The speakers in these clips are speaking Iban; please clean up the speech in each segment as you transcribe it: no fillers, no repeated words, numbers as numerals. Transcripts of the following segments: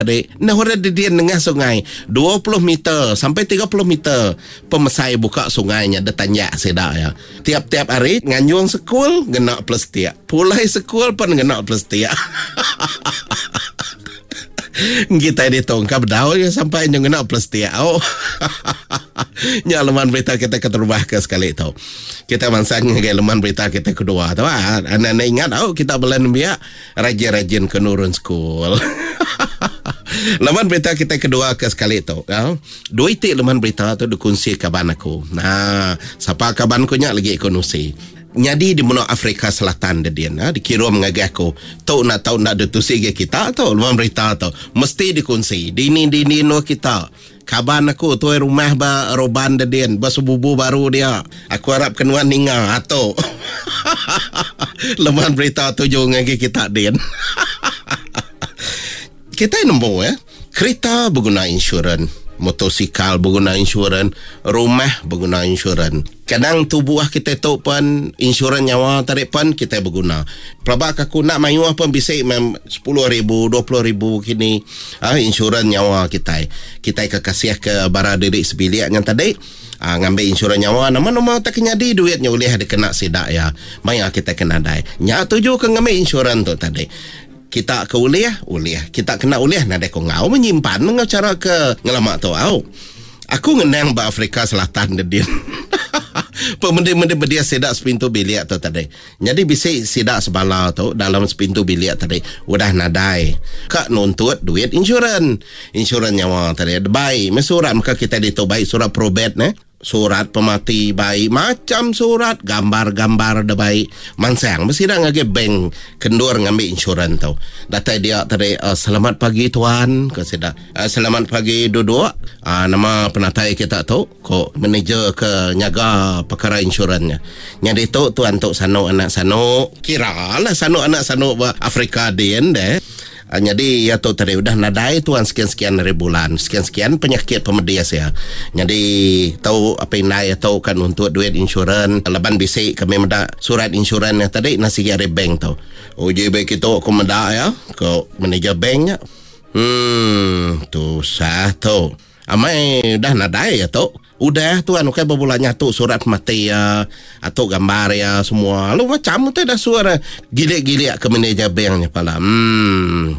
tadi. Nah orang dedin nengah sungai 20 meter sampai 30 meter pemesai buka sungai nya detanjak sida ya. Tiap-tiap hari nganjung sekul ngena plastik. Pulai sekul pun ngena plastik. Kita ditu engka bedau ya sampai nyu ngena plastik. Oh. Nya leman berita kita keterubah ke sekali tu. Kita mansang ngagai leman berita kita kedua tu. Ah, anak-anak ingat oh kita bela nembiak rajin-rajin ke nurun school. Leman berita kita kedua ke sekali tu. Ah. Dua iti leman berita tu dikunsi kaban aku. Nah, sapa kaban ku nya lagi aku nusi. Nyadi di menua Afrika Selatan dedin ha, dikirum ngagai aku. Tu nak tau nak ditusi gai kita tu leman berita tu. Mesti dikunsi. Dini-dini endur kita. Kaban aku tuai rumah ba Roban dedin ba Sebubu baru dia. Aku arap ke nuan ninga tu. Leman berita tuju ngagai kita din. Kitai nemu ya. Kerita beguna insurans, motosikal beguna insurans, rumah beguna insurans. Kadang tubuh kitai tu pun insurans nyawa tadi pun kitai beguna. Pelaba ke aku nak mayuh pun bisi mem 10,000, 20,000 kini ah insurans nyawa kitai. Kitai ke kasih ke bara diri sebilik nya tadi ah ngambi insurans nyawa nama-nama tak nyadi duit nya ulih dikena sida ya. Maya kitai ke nadai. Nya tuju ke ngambi insurans tu tadi. Kita ke ulih, ulih. Kita kena ulih nadai ko enggau menyimpan enggau cara ke ngelama tu au. Aku ngenang ba Afrika Selatan dedin. Pemending-mending bedih sida sepintu bilik tu tadi. Nyadi bisi sida sebala tu dalam sepintu bilik tadi udah nadai ka nuntut duit insurans. Insurans nyawa tadi. Bai meh surat meka kitai ditu bai surat probate neh. Surat pemati bai macham surat gambar-gambar da bai mansang besida ngagai bank ke endur ngambi insurans tu. Datai dia tadi uh, selamat pagi tuan ko sida. Uh, selamat pagi duduk. Uh, nama penatai kita tu ko manager ke nyaga perkara insurans nya. Nyadi tu tuan tu sanu anak sanu kira lah sanu anak sanu ba Afrika din deh. Nyadi iya tu tadi udah nadai tuan sekian-sekian hari bulan, sekian-sekian penyakit pemedis iya. Nyadi tu apai indai iya tu ka nuntut duit insurans laban bisi kami meda surat insurans iya tadi nah sigi ari bank tu. Uji bai kitu ku meda iya, ku manager bank nya. Em tusah tu. Amai udah nadai iya tu. Udah tuan ukai bebulan nya tu surat pemati iya, atu gambar iya semua. Lalu macam utai dah suar gilik-gilik ke manager bank nya pala. Hmm.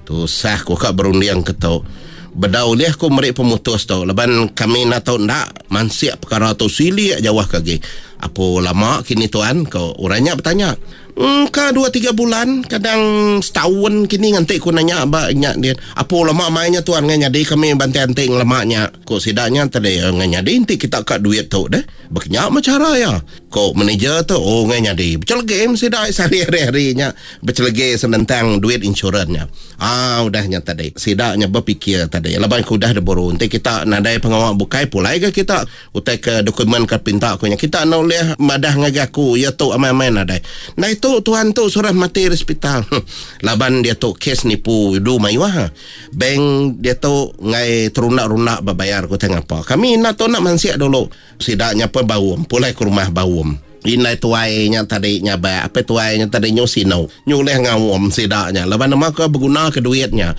Tusah ku ka berunding ke tu. Bedau ulih ku meri pemutus tu laban kami enda tau enda mansik perkara tu silik jauh ke agi. Apu lama kini tuan ko orang nya betanya. Engka dua tiga bulan kadang setaun kini nganti ku nanya ba nya din. Apu lama mai nya tuan ngai nyadi kami bantai anti ngelama nya. Ku sida nya tadi ngai nyadi enti kita ka duit tu deh. Baka nya meh chara iya. Ku manager tu oh ngai nyadi. Bechelege meh sida sehari hari nya bechelege senentang duit insurans nya. Aa udah nya tadi sida nya bepikir tadi laban ku udah diburu enti kita nadai pengawa bukai pulai ga kita. Utai ke dokumen ke pinta aku nya kita enda ulih madah ngagai aku iya tu amai-amai nadai. Ndai tu tuan tu surah mati ari sepital. Laban diatu kes nipu udu mayuh. Bank diatu enggai terunda-runda ba bayar ku utai ngapa. Kami enda tu enda mansik dulu. Sida nya pun baum pulai ke rumah baum. Indai tuai nya tadi nyabak apai tuai nya tadi nyu sinu. Nyu ulih ngaum sida nya laban nama ke beguna ke duit nya.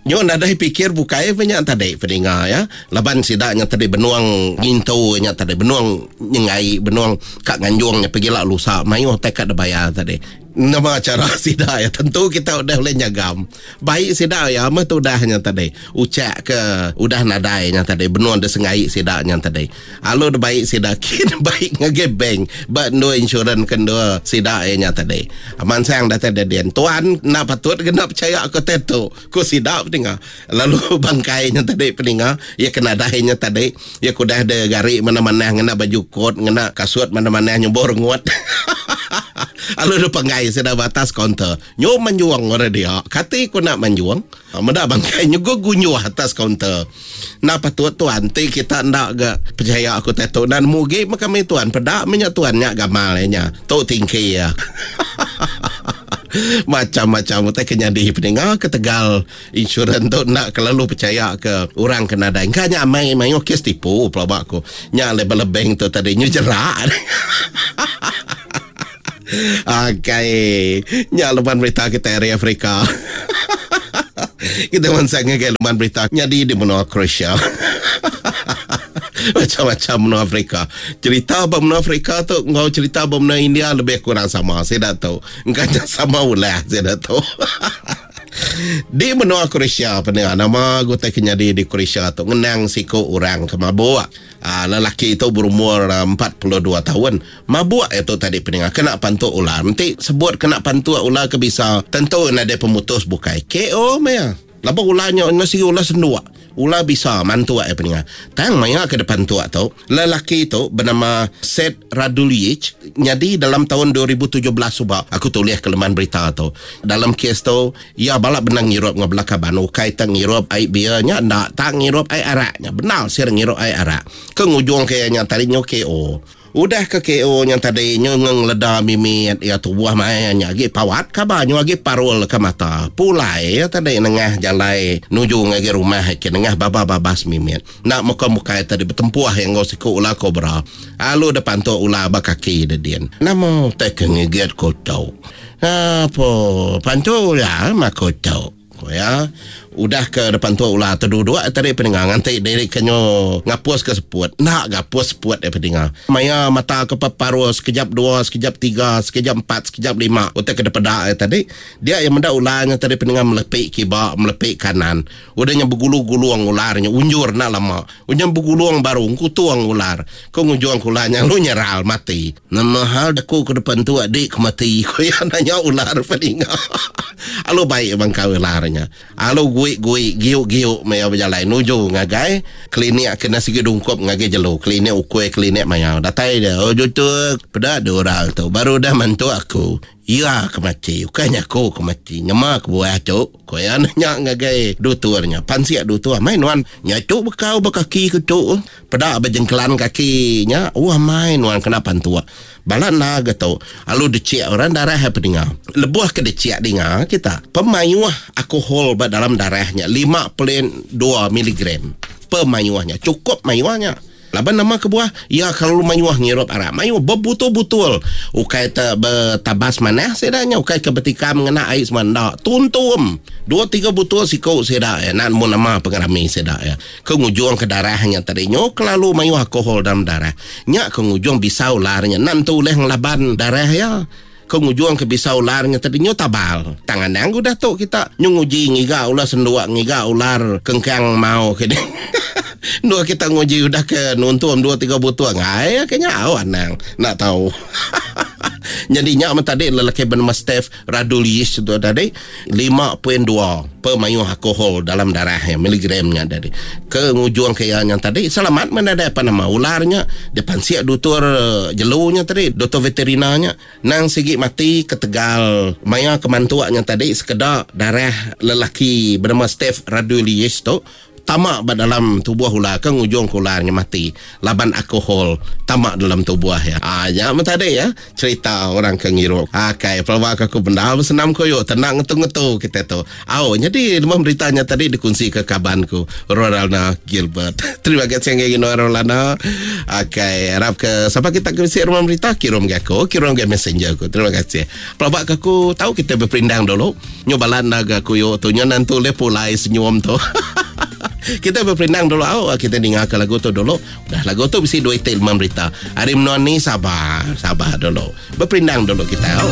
Nyu nadai pikir bukai pun nya tadi peninga ya. Laban sida nya tadi benung ngintu nya tadi benung nyengai benung ka nganjung nya pegila lusa mayuh tai ka dibayar tadi. Nama chara sida ya tentu kita udah ulih nyagam. Baik sida ya meh tudah nya tadi. Uchak ke udah nadai nya tadi benung disengai sida nya tadi. Alu dibai sida kin baik ngagai bank ba endur insurans ke endur sida iya nya tadi. Mansang datai dedin. Tuan enda patut ke enda pechaya ke utai tu, ku sida peninga. Lalu bangkai nya tadi peninga, iya ke nadai nya tadi, iya ke udah de gari manah-manah ngena baju kot, ngena kasut manah-manah nyumbor rengut. Lalu dipanggai sida ba atas kaunter. Nyu manjung orang dia. Kati ku enda manjung? Meda bangkai nyuguh gunyuh atas kaunter. Enda patut tuan ti kita enda ga pechaya aku utai tu. Enda nemu agi meh kami tuan. Peda meh nya tuan nya gamal iya nya. Tu tingki iya. Macam-macam utai ke nyadi peninga ketegal insurans tu enda kelalu pechaya ke orang ke nadai. Engka nya amai mayuh kes tipu pelaba aku. Nya alai bala bank tu tadi nyu jerak. Akai. Nya leban berita kitai ari Afrika. Kita mansang ngagai leman berita nyadi di menua Croatia. Macam-macam menua Afrika. Cerita ba menua Afrika tu enggau cerita ba menua India lebih kurang sama sida tu. Engka nya sama ulah sida tu. Di menua Croatia penia nama gutai ke nyadi di Croatia tu ngenang siku orang ke mabuk. Aa lelaki tu berumur 42 taun. Mabuk iya tu tadi peninga kena pantuk ular. Enti sebut kena pantuk ular ke bisa tentu nadai pemutus bukai. KO meh iya. Laban ular nya enda sigi ular senduk. Ular bisa mantuk iya peninga. Tang maya ke dipantuk tu, lelaki tu benama Seth Radulic nyadi dalam taun 2017 suba aku tulih ke leman berita tu. Dalam kes tu, iya bala bendar ngirup enggau bala kaban ukai te ngirup ai beer nya enda tang ngirup ai arak nya. Bendar sir ngirup ai arak. Ke ngujungka iya nya tadi nyu KO. Udah ke KO nya tadi nyu ngeleda mimit iya tubuh mai nya agi pawat kaba nyu agi parul ke mata. Pulai iya tadi nengah jalai nuju ngagai rumah ke nengah baba babas mimit. Enda muka mukai tadi betempuh iya enggau siku ular kobra. Alu deh pantuk ular ba kaki deh din. Nama utai ke ngigit ku tu? Apo pantuk ular mah ku tu. Ku iya, udah ke depan tua ular teduduk tadi peninga nganti diri ke nyu ngapus ke seput. Enda gapus seput deh peninga. Maya mata ke peparul sekejap dua, sekejap tiga, sekejap empat, sekejap lima utai ke dipeda iya tadi, dia iya meda ular nya tadi peninga melepi kiba, melepi kanan. Udah nya begulung-gulung ular nya unjur enda lama. Udah nya begulung baru ngkutung ular. Ke ngujung ke ular nya lalu nyeral mati. Nama hal aku ke depan tu adik ke mati ku iya nanya ular peninga. Alu baik bangkau ular nya. Alu gui-gui giuk-giuk meh iya bejalai nuju ngagai klinik ke enda sigi dungkup ngagai jelu klinik ukui klinik mayau. Datai dia oh jutu peda deh orang tu baru udah mantu aku. Iya ke mati, ukai nya aku ke mati. Nyema kebuah tu, ku iya nanya ngagai dutur nya. Pansik dutur, Amai nuan nya tu bekau ba kaki ku tu. Peda ba jengkelan kaki nya, oh amai nuan kena pantuk. Bala enda ga tu, alu dechik orang darah iya peninga. Lebuh ke dechik dinga kita, pemayuh alkohol ba dalam darah nya 5.2 miligram. Pemayuh nya, chukup mayuh nya. Laban nama kebuah iya kelalu mayuh ngirup arak. Mayuh bebutul-butul. Ukai te betabas manah sida nya ukai ke betikam ngena ai semua enda. Tuntum. Dua tiga butul siku sida iya enda nemu nama pengerami sida iya. Ke ngujung ke darah nya tadi nyu kelalu mayuh alkohol dalam darah. Nya ke ngujung bisa ular nya enda nentu ulih ngelaban darah iya. Ke ngujung ke bisa ular nya tadi nyu tabal. Tang anang udah tu kita nyu nguji ngiga ular senduk ngiga ular kengkang mau ke deh. Endur kita nguji udah ke nuntum dua tiga butul ngai ke nya au anang enda tau. Nyadi nya men tadi lelaki benama Steph Radulish tu tadi 5.2 pemayuh alkohol dalam darah iya miligram nya tadi. Ke ngujung ke iya nya tadi selamat men nadai apa nama ular nya dipansik dutur jelu nya tadi doktor veterina nya nang sigi mati ketegal maya ke mantuk nya tadi sekeda darah lelaki benama Steph Radulish tu Tama ba dalam tubuh ular ke ngujung ke ular nya mati laban alkohol tama dalam tubuh iya. Aa nya meh tadi ya cerita orang ke ngirup. Akai pelaba ke aku bendar besenam koyo tenda ngetu-ngetu kitai tu. Au nyadi lebuh berita nya tadi dikunsi ke kaban ku Rolanda Gilbert. Terima kasih ngagai nuan Rolanda. Akai arap ke sapa kita ke bisi rumah berita kirum ga aku, kirum ga messenger aku. Terima kasih. Pelaba ke aku tau kitai beperindang dulu. Nyu bala enda ga kuyu tu nyu nentu ulih pulai senyum tu. Kita beperindang dulu au kita ninga ke lagu tu dulu. Udah lagu tu bisi dua iti lemam berita. Ari menua ni sabar, sabar dulu. Beperindang dulu kita au.